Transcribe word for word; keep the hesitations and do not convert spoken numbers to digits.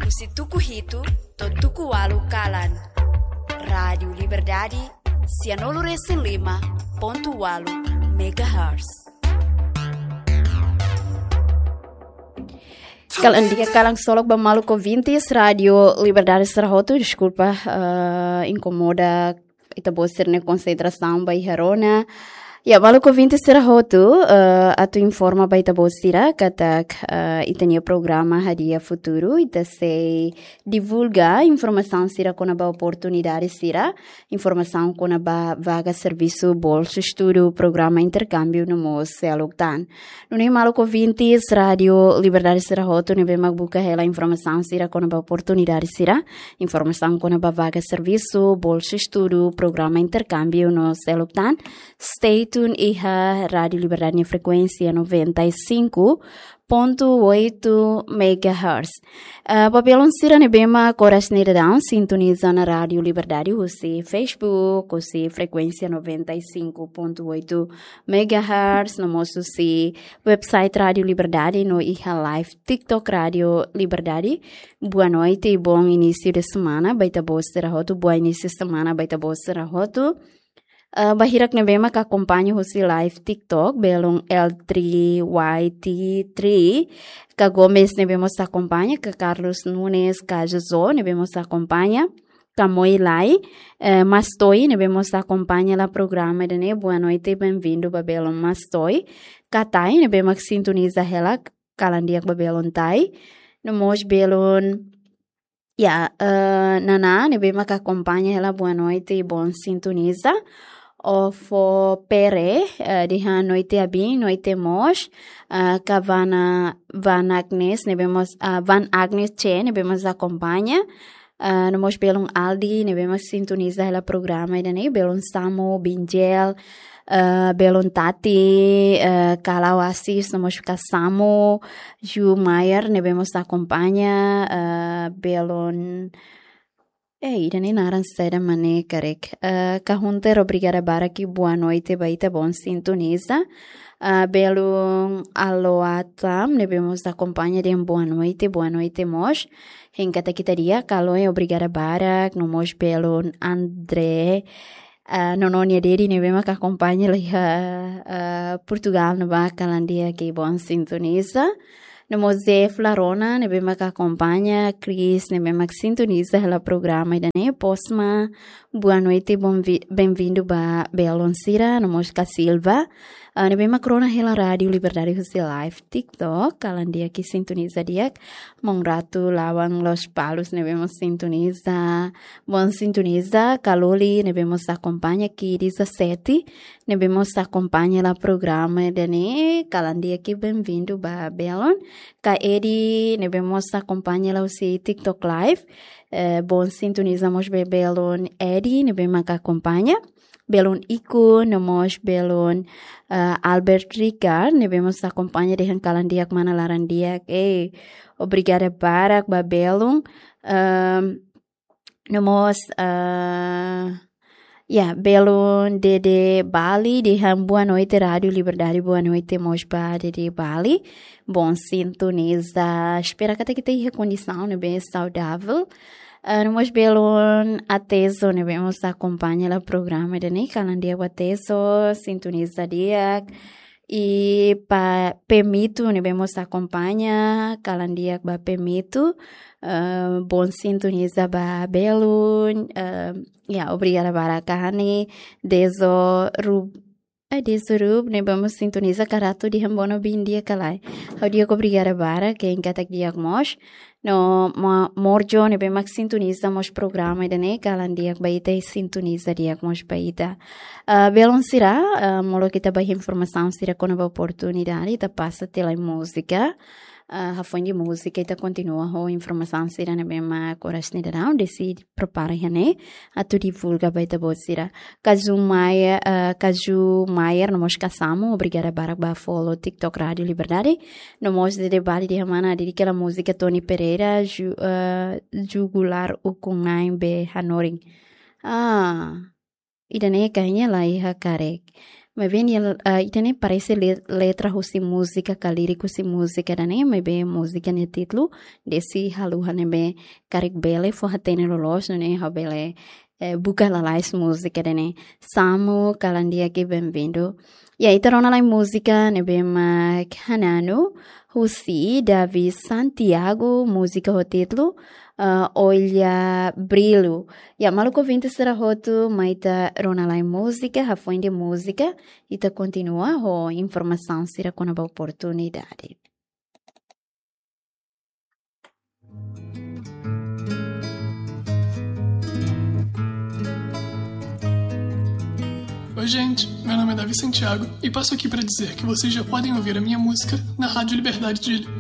Husi tuku hitu to'o tuku ualu kalan. Rádiu Liberdade, sianulu resin lima pontu ualu megahertz. Kalan di'ak, kalan ksolok ba maluk ouvintes Rádiu Liberdade sira hotu, deskulpa, eh, inkomoda ita-boot sira-nia konsentrasaun ba iha rona. Ya, maluk ouvintes sira hotu, eh, atu informa ba ita-boot sira katak, eh, ita-nia programa Hadi'a Futuru, ita sei divulga informasaun sira kona-ba oportunidade sira, informasaun kona-ba vaga servisu, bolsa estudu, programa interkámbiu no mós seluk tan. Nune'e maluk ouvintes Rádiu Liberdade sira hotu ne'ebé mak buka hela informasaun sira kona-ba oportunidade sira, informasaun kona-ba vaga servisu, bolsa estudu, programa interkámbiu no seluk tan, stay tuned iha Rádiu Liberdade nia frekuénsia noventa e cinco ponto oito megahertz. Eh, ba belun sira ne'ebé mak oras ne'e daudaun sintoniza ona Rádiu Liberdade husi Facebook, husi frekuénsia noventa e cinco ponto oito megahertz, no mós husi website Rádiu Liberdade no iha live TikTok Rádiu Liberdade. Boa noite i bom início de semana ba ita-boot sira hotu, boa início de semana ba ita-boot sira hotu. Eh, ba hirak ne'ebé mak akompaña husi live TikTok, belun L three Y T three, Ka Gomes ne'ebé mós akompaña, Ka Carlos Nunes, Ka Jojo ne'ebé mós akompaña, Ka Moilai, eh, Mastoi ne'ebé mós akompaña hela programa ida-ne'e, boa noite, bem-vindo ba belun Mastoi. Ka Tai ne'ebé mak sintoniza hela, kalan di'ak ba belun Tai. No mós belun, ya, eh, Nana ne'ebé mak akompaña hela, boa noite, bom sintoniza. Ofo Pere, eh, dehan noite abin, noite mós, eh, Ka Vana, Van Agnes ne'ebé mós, ah, Van Agnes C ne'ebé mós akompaña, eh, no mós belun Aldi ne'ebé mós sintoniza hela programa ida-ne'e, belun Samu, Binjel, eh, belun Tati, eh, Kala Oasis, no mós Ka Samu, Ju Mayer ne'ebé mós akompaña, eh, belun, eh, ida-ne'e naran saida mak ne'e karik. Eh, Ka Hunter, obrigada barak i boa noite ba ita, bom sintoniza. Eh, belun Aloatam ne'ebé mós akompaña dehan boa noite, boa noite mós. Hein katak ita di'ak, Ka Loe, obrigada barak, no mós belun André, eh, Nono nia Dedi ne'ebé mak akompaña hela iha, eh, Portugal ne'ebá, kalan di'ak i bom sintoniza. No mós Zé Flarona ne'ebé mak akompaña, Chris ne'ebé mak sintoniza hela programa ida-ne'e, Posma, boa noite, bom vi-, bem-vindo ba belun sira, no mós Ka Silva, ah, ne'ebé mak rona hela Rádiu Liberdade husi live TikTok, kalan di'ak i sintoniza di'ak. Maun Ratu Lawang Lospalos ne'ebé mós sintoniza, bom sintoniza, Ka Loli ne'ebé mós akompaña, Ki Dezasete ne'ebé mós akompaña hela programa ida-ne'e, kalan di'ak i bem-vindo ba belun. Ka Edi ne'ebé mós akompaña hela husi TikTok Live, eh, bom sintoniza mós ba belun Edi ne'ebé mak akompaña. Belun Iko, no mós belun, eh, Albert Ricard ne'ebé mós akompaña dehan kalan di'ak mana laran di'ak. Eh, obrigada barak ba belun. Ehm, no mós, eh, ya, belun Dede Bali dehan boa noite Rádiu Liberdade, boa noite mós ba Dede Bali. Bom sintoniza, espera katak ita iha kondisaun ne'ebé saudavel. Ah, no mós belun Ateso ne'ebé mós akompaña hela programa ida-ne'e, kalan di'ak ba Ateso, sintoniza di'ak. I ba Pemito ne'ebé mós akompaña, kalan di'ak ba Pemito, eh, bom sintoniza ba belun, eh, ya, obrigada barak. Ka Hani, Dezo Rub-, eh, Dezo Rub ne'ebé mós sintoniza, Ka Ratu dehan bono bin di'ak ka lae. Ha'u di'ak, obrigada barak, hein katak di'ak mós. No ma-, Morjo ne'ebé mak sintoniza mós programa ida-ne'e, kalan di'ak ba ita i sintoniza di'ak mós ba ita. Ah, belun sira, ah, molok ita ba iha informasaun sira kona-ba oportunidade, ita pasa tiha lai múzika. Ah, hafoin di múzika ita kontinua ho informasaun sira ne'ebé mak oras ne'e daudaun deside prepara iha ne'e atu divulga ba ita-boot sira. Ka Ju Maia, ah, Ka Ju Mayer no mós Ka Samu, obrigada barak ba follow TikTok Rádiu Liberdade. No mós Dede Bali dehan mana, dedika hela múzika Tony Pereira, Ju-, eh, Jugular Ukun-na'in be hanorin. Ah, ida-ne'e kayaknya la iha karik. Maibé nia, ah, ita-nia parese le-, letra husi múzika, ka líriku husi múzika ida-ne'e, maibé múzika nia títulu, desi haluha ne'ebé karik bele fó hatene loloos, nune'e ha'u bele, eh, buka lalais múzika ida-ne'e. Samu, kalan di'ak, bem-vindo. Ya, ita rona lai múzika ne'ebé mak hananu, husi Davi Santiago, múzika ho títulu, ah, Olha Brilho. Ya, maluk ouvinte sira hotu, mai ita rona lai múzika, hafoin de múzika, ita kontinua ho informasaun sira kona-ba oportunidade. Oi, gente, meu nome é Davi Santiago e passo aqui para dizer que vocês já podem ouvir a minha música na Rádio Liberdade de Ilha.